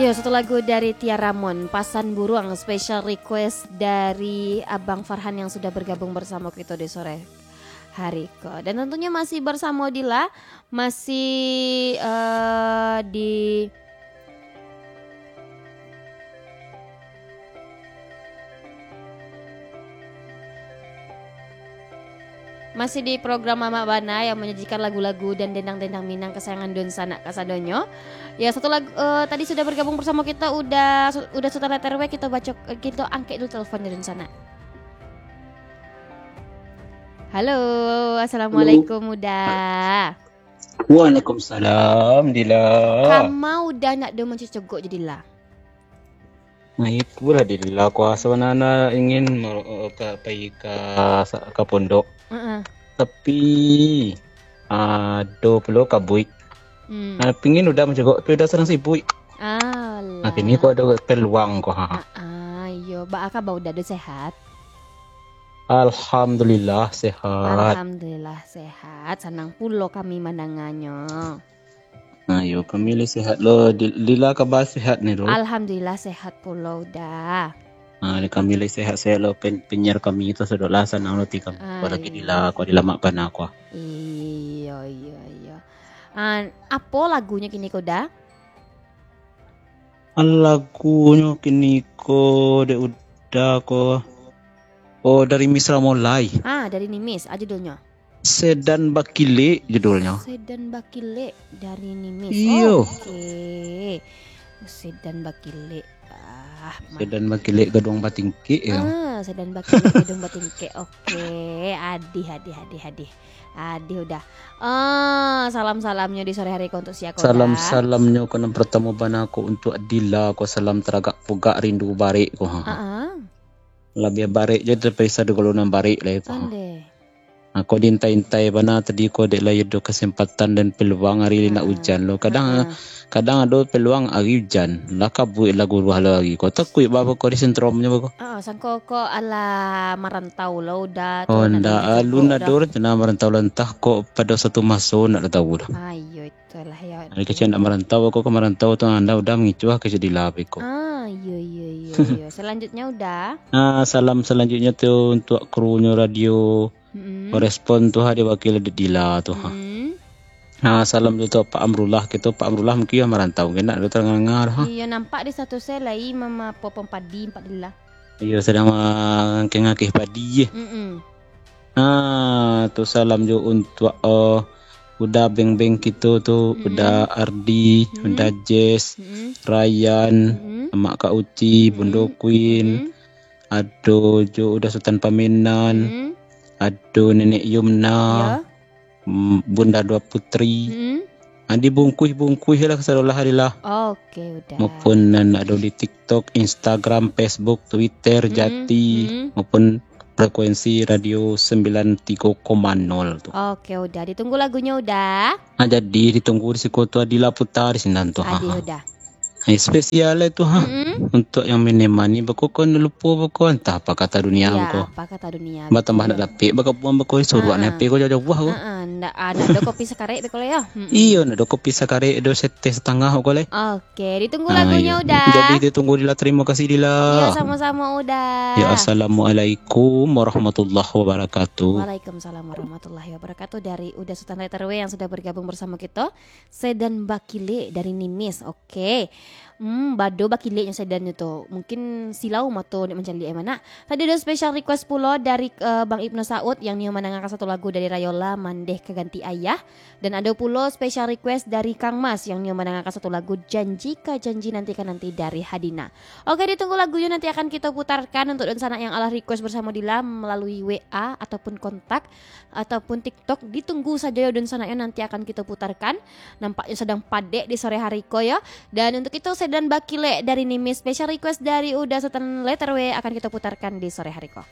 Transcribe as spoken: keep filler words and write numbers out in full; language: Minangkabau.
Yo, satu lagu dari Tia Ramon, Pasan Buruang, special request dari Abang Farhan yang sudah bergabung bersama kita di sore hari ko. Dan tentunya masih bersama Dila, masih, eh, di Masih di program Mamak Bana yang menyajikan lagu-lagu dan dendang-dendang Minang kesayangan dunsanak kasadonyo. Ya, satu lagu, eh, tadi sudah bergabung bersama kita, Uda, Uda Sutan Letter W, kita baco, eh, kita angkek dulu teleponnya dunsanak. Halo, assalamualaikum, Uda. Waalaikumsalam, Dila. Kama Uda nak do mancocogok jadi lah. Nah, itulah, Dila. Kuaso nana ingin mer-, eh, ka, pai ka sa-, ka pondok. Heeh. Tapi, ado pulo kabuik. Hmm. Nah, pingin Uda mancogok, tapi Uda sadang sibuik. Alah. Nah, kini ko ado peluang ko, ha. Ah, ah, iyo. Baa kaba Uda, do sehat? Alhamdulillah, sehat. Alhamdulillah, sehat. Sanang pulo kami mandanganyo. Nah, yo, kami lai sehat lo. Di-, Dila kaba sehat ni, lo? Alhamdulillah, sehat pulo, Uda. Ah, kami lai sehat-sehat lo, pen-, penyiar kami tu sudah lah, sanang lo ti kami. Ah, Apalagi iyo. Dila, ko Dila Mak Bana ko. Iyo, iyo, iyo. Ah, apo lagunyo kini ko, Uda? Ah, lagunyo kini ko, dek Uda ko. Oh, dari Misra Mulai. Ah, dari Nimis, ah, judulnyo. Sedan Bakilek judulnyo. Sedan Bakilek dari Nimis. Iyo. Oke. Sedan Bakilek. Ah, ma- Sedan Bakilek gaduang batingkek, yo. Ah, Sedan Bakilek gaduang batingkek. Oke, adih, adih, adih, adih. Adih, Uda. Ah, salam-salamnyo di sore hari ko untuk sia ko, Uda? Salam-salamnyo ko nan pertamo bana ko untuk Dila ko, salam taragak pugak rindu barek ko. Ha. Ah, ah. Labiah barek je daripada sado galo nan barek lai ko. Ondeh. Nah, ko diintai-intai bana tadi ko, dek lai ado kesempatan dan peluang ari nak Ah, ujan lo. Kadang, ah, ah. kadang ado peluang ari ujan. Lah kabuik lah guruah lo ari ko. Takuik baa ko di sentromnyo ko. Ah, sangko ko alah marantau lo, Uda, tu Oh, nak ndak, diajak alun jogok ado dah. Rencana marantau lah, antah ko pado satu maso nak tau dah. Ah, iyo, itulah yo. Ari kecek nak marantau, ko ka marantau tu, anda Uda mangicuah ka jadi lah beko. Ah, iyo, iyo, iyo, iyo. Selanjutnya, Uda. Ah, salam selanjutnya tu untuk krunyo radio. Mm-mm. Korespon tu ha, diwakili dek Dila tu ha. Mm-mm. Ah, salam tu untuk Pak Amrullah, kito Pak Amrullah mungkin yo marantau, kena ado tangah-tangah ha. Iyo, nampak di status e lai mama popom padi, Pak Dila. Iyo, sadang mangakeh-ngakeh padi je. Mm-mm. Ah, tu salam jo untuak, eh, Uda Beng-Beng kito tu, Mm-mm. Uda Ardi, Mm-mm. Uda Jess, Mm-mm. Ryan, Mm-mm. Amak Kak Uci, Mm-mm. Bundo Queen, Mm-mm. ado jo Uda Sutan Pamenan, Mm-mm. ado Nenek Yumna, Ya. mm, Bunda Dua Putri. Mm-mm. Ah, dibungkuih-bungkuih lah kasadolah hari lah. Oke, Uda. Maupun nan ado di TikTok, Instagram, Facebook, Twitter, Mm-mm. Jati, Mm-mm. maupun frekuensi radio sembilan tiga koma nol tu. Oke, Uda. Ditunggu lagunyo, Uda. Ah, jadi ditunggu di siko tu, Adila putar di sinan tu. Ha, Adih, ha. Uda. Eh, spesial lah tu ha. Mm-mm. Untuk yang menemani beko ko, lupo beko, antah apa kata dunia Iya, beko. Apa kata dunia Batambah beko. Nak dapik beko buang beko, suruak Ah, ah. Nepe ko jauh-jauh ko. Ah, ah. Ndak, ah, ndak ado kopi sakarek beko lah yo. Mm-mm. Iyo, ndak ado kopi sakarek, ado seteh satangah ko lah. Oke, ditunggu Ah, lagunyo, iyo. Uda. Jadi ditunggu Dila, terima kasih Dila. Iya, sama-sama, Uda. Ya, assalamualaikum warahmatullahi wabarakatuh. Waalaikumsalam warahmatullahi wabarakatuh. Dari Uda Sutan Letter W yang sudah bergabung bersama kita. Sedan Bakilek dari Nimis. Oke. Hmm, bado bakileknyo sedannyo tu. Mungkin silau mato nak mancaliak e manak. Tadi ado special request pulo dari, eh, Bang Ibnu Saud yang nio mandangakan satu lagu dari Rayola, Mandeh Ka Ganti Ayah. Dan ado pulo special request dari Kang Mas yang nio mandangakan satu lagu Janji Ka Janji Nanti Ka Nanti dari Hadina. Oke, ditunggu lagunyo, nanti akan kito putarkan untuk dunsanak yang alah request bersamo Dila melalui W A ataupun kontak ataupun TikTok. Ditunggu sajo yo dunsanaknyo, nanti akan kito putarkan. Nampaknyo sadang padek di sore hari ko yo. Dan untuk itu, Sedan Bakilek dari Nimis, special request dari Uda Sutan Letter W akan kito putarkan di sore hari ko.